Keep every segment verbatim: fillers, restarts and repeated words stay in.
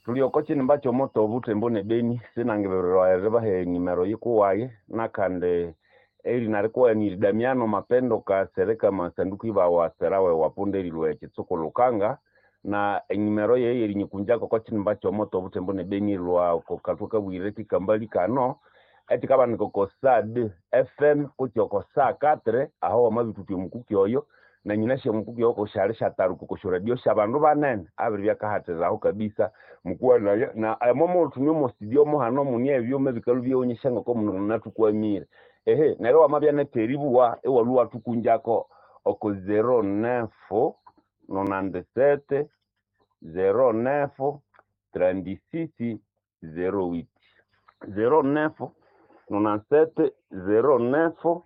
Tuli oko kinimba ky'omoto obutembo ne Beni sinangibirwa eribaha enimero yikuwaye nakandi erina rikuwaye ni Damiano Mapendo Kasereka Masanduku ibawa serawe wapunda erilwa ekitsuku Lukanga na enimero yeye erinyikunjako oko kinimba ky'omoto obutembo ne Beni lwa oko katwe kabwire kikambali kano ekikabanika oko S A D F M kutse oko sa quatre aho wamabithuthya omukuki oyo na nyinasya omukuki oyo kosyali syataruka oko syoradio syabandu banene abiri byakahathiraho kabisa mukuwanaya na emomo thune omo studio muhano muni ebyuma ebikalhu byewonyesya ngoko mundu anathukwamire. Ehe, neryo wamabya netheribuwa iwalhwa iwathukunjako oko zero neuf nonante-sept zero neuf trente-six zero huit, zero neuf nonante-sept zero neuf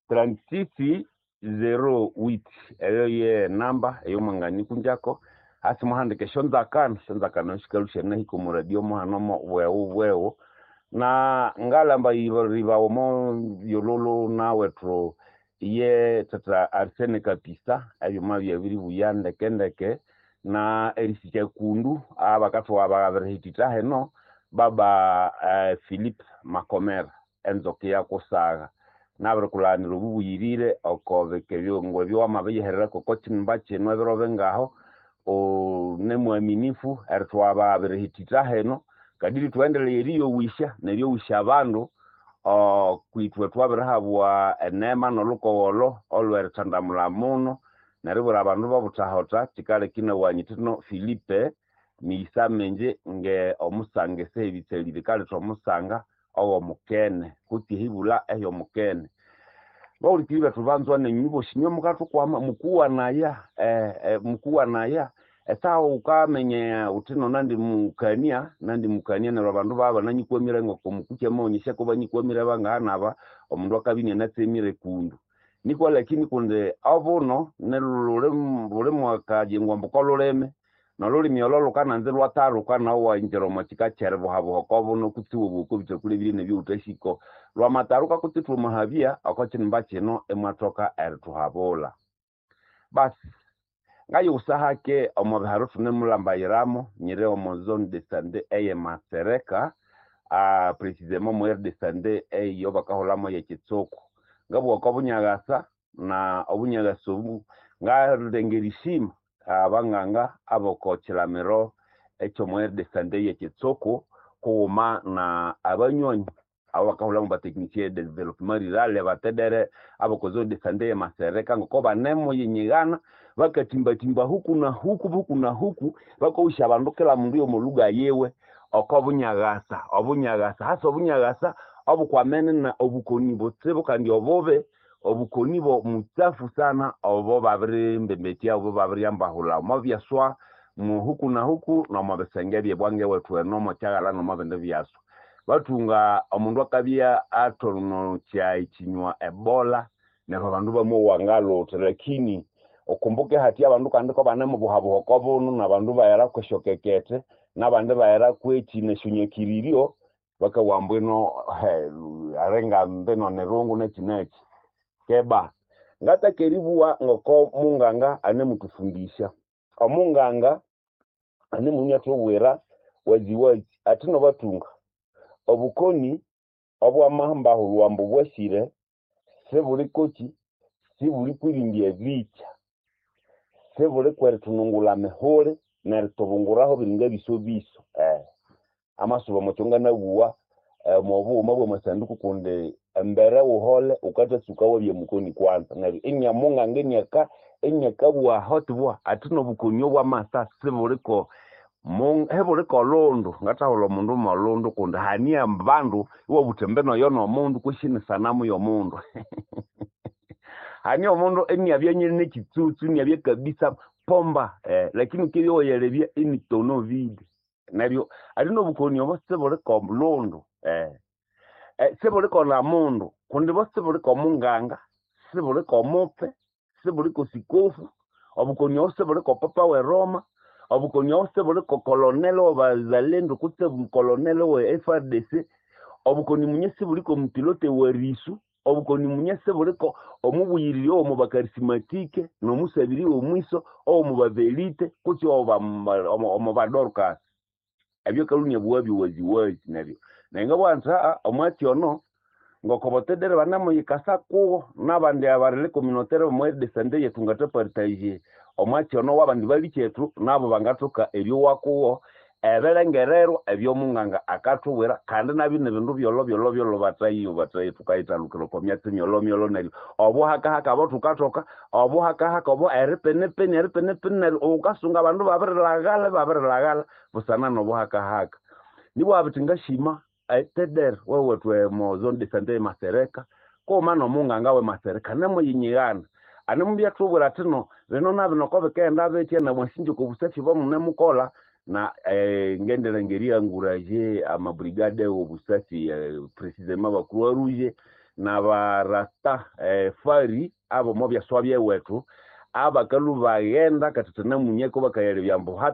trente-six zero huit. Eyo ye namba eyomwanganyikunjako hasi muhandike esyonzakano. Esyonzakano sikalhwa syanahika omo radio muhano bweghu bweghu na ngalamba ribawa omo byololo nawethu iye tata Arsene Kapisa. Ebyuma byabiribuya ndeke ndeke na erisikya kundu abakathugha babirihithitha heno baba eh, Philip Makomera enzoka eyakusagha nabirikulhaghanira obubuyirire oko bika ebyongo ebyo wamabiyihererako oko kinimba kino ebiro bingaho une mwaminifu erithugha babirihithitha heno kadiri thuendeleye eriyowisya neryowisya abandu kwithwe twabirihabwa enema nolhukogholo olwerithandamulha muno neribwira abandu bobuthahotha. Kikaleka inawa nyithino Philipe miyisa mingi nge omusanga esaha ebitsali bikaletha omusanga ow'omukene kutse ehibulha ehy'omukene. Bahulikiriri bethu banzwa nenywe bosi inywe mukathukwama mukuwanaya eh, eh, mukuwanaya esaha wukaminya wuthi no nandi mukania nandi mukania neryo abandu baba bananyikwamire ngoko mukuki amawonyesya ko banyikwamire bangahanaba omundu akabya inianatsemire kundu nikwa lakini kundi obuno niluli buli mwakajingwa mbu kolulimi nolulimi olo lukananza ilwathaluka nawu iwayingira omo kika kyeribuhabuha oko buno kutse iwabugha oko bitakulha ebirye nebyowuthasiko lwamathaluka kutse thwamahabya oko kinimba kino imwathoka erithuhabulha. Basi ngayiwusa hake omo biharo thunemulambayiramo nyiri omo zone de sante eye Masereka, uh, précisément omo aire de sante eyo bakahulhamu yekitsuku. Ngabugha oko bunyakasa na obunyakasa obu ngalengera isima abanganga aboko kilamiro ekyomo aire de sante yekitsuku kughuma na abanywanyi abo bakahulhamu batechnicien de développement rural abatedere aboko zone de sante ye Masereka ngoko banemuyinyigana bakatimbatimba huku na huku huku na huku bakowusya abandu kila mundu yomo lugha yiwe oko bunyakasa obunyakasa hasa obunyakasa obukwamene na obukoni butsibu kandi obubi obukoni mutsafu sana obo babirimbembetya obo babiryambahulha omo byaswa muhuku na huku nomo bisenge byebwange wethu eno omo kyaghala nomo bindi byaswa bathunga omundu akabya athonokya ekinywa ebola neryo abandu bamowa ngalutha. Lakini ukumbuke hati abandu kandi ko banemubuhabuha oko bunu nabandu baghera kwesyokekete nabandi baghera kweki nesyonyakiriryo bakawa mbwino alinga mbino nirungu neki neki keba ngataka eribuwa ngoko munganga anemuthufundisya. Omunganga anemunya athubwira waziwazi athi nobathunga obukoni obwamambahulhwa ambu bwasire sibuli koki sibuli kwirindya ebikya sibuli kwerithunungulha mihuli nerithubunguraho biringa bisobiso eh. Amasuba omwakyo nganabuwa omo bughuma bwamasanduku kundi embere wuhole wukathatsuka wabya mukoni kwanza neryo inya munganga inyaka inyakabugha aho athi nobukoni obwamasa sibuliko hibuliko olundu. Ngathahulha omundu molundu kundi hania abandu iwabutha embino oyo nomundu kwesi ni sanamu yomundu. Hania omundu iniabya nyine nekitsutsu iniabya kabisa pomba eh, lakini ukibya wayalebya ini tonneau vide. Neryo ali nobukoni obo sibuliko lundu eh. Eh, sibuliko na mundu kundi bo sibuliko munganga sibuliko mupfe sibuliko sikofu. Obukoni obo sibuliko papa we Roma. Obukoni obo sibuliko kolonelo wabazalendo kutse kolonelo we F R D C. Obukoni munye sibuliko mupilote wa risu. Obukoni munye sibuliko omubuyiriri owomu bakarismatike nomusabiri womwiso owomu bavelite kutse omu badorcas. Ebyo kalũnia bwabyo waziwazi neryo nenga nti aa omwatsi ono ngoko botedere banemuyikasa kuwo n'abandi abarelais communautaire b'omo aire de santé yetu ngatapartage omwatsi ono w'abandi balikyetu nabo bangathoka eryowa kuwo ebirengererwa ebyomunganga akathubwira kandi nabyo nibindu byolho-byolho-byolho batayiyo batayi thukayithalukira oko myatsi myolho-myolho neryo obuhakahaka abo thukathoka obuhakahaka obo eripinipini eripinipini neryo wukasunga abandu babirilhaghala babirilhaghala busana n'obuhakahaka nibwa bithi ngashima etedere wewethu emo zone de sante emasereka koma n'omunganga w'emasereka anemuyinyigana anemubyathubwira athi no bino nabino oko bikaghenda bitya namwasinja oko busafi obomunemukolha na eh, ngendilenga eriencourager amabrigade w'obusafi eh, précisément ba croix rouge n'abarasta eh, fari abo omo byaswa byewethu abakalhu baghenda kathathanamunyako bakayalebya ambu